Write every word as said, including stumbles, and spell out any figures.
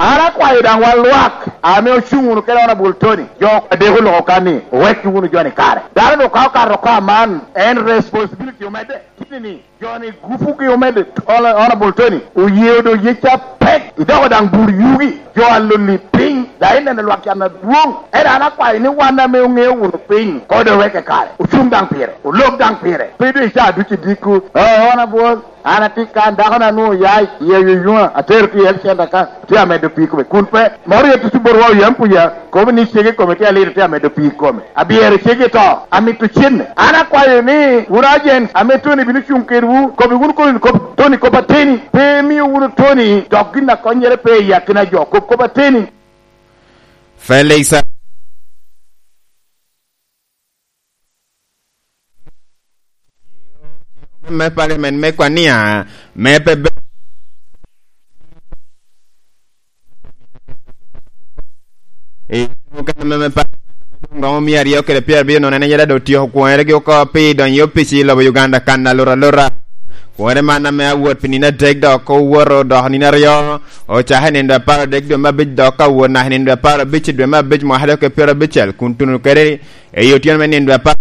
An akwayo daŋ wan lwak ame ocuŋ wunu kede Honorable Tony, jo adek oloko kan ni, owekki wunu jo-ni kare. Dano dok ka okato oko aman, en responsibility omedde. Kite ni, jo-ni gupugi omedde, Hon-, Honorable Tony, oye odo yec apek, idoko daŋ bur yugi, jo a loni piny, daŋ ineno lwak can adwoŋ. Ento an akwayo ni wan ame oŋeo wunu piny, kode oweke kare, ocuŋ daŋ pire, olok daŋ pire. Pe doŋ icaa ducu idiko, "Oh, Honorable, an atye kan, dako-na nwoŋo oya i, i Ayunywa, atero tye i health center kan, tye amedo pii kome." Kun pe, moro ya tutu botwa oyam puya, kobo ni cege kome tye aliro, tye amedo pii kome. Abyero cege to, amito cenne. An akwayo ni, wun agents ame Tony bino cuŋ kedwu, kobi wunu kop, kop, Tony kop ateni, pe imio wunu Tony dok gin a konnyere pe i akina jo, kop kop ateni. Felix. Me parliament me Kwania, me pe be-, i mukene me, me parliament me dwoŋ romo mia aryo kede pyerabiryo nono, en aye dok otyeko kwonere gi oko pi donyo i opic i lobo Uganda kan alura alura. Kwonere man ame awot pi nino adek dok owoto dok nino aryo, ocako i nino apar adek dwe me abic dok awot naka i nino apar abic dwe me abic mwaka dok pyerabicel, kun tuno kede i otyeno me nino apar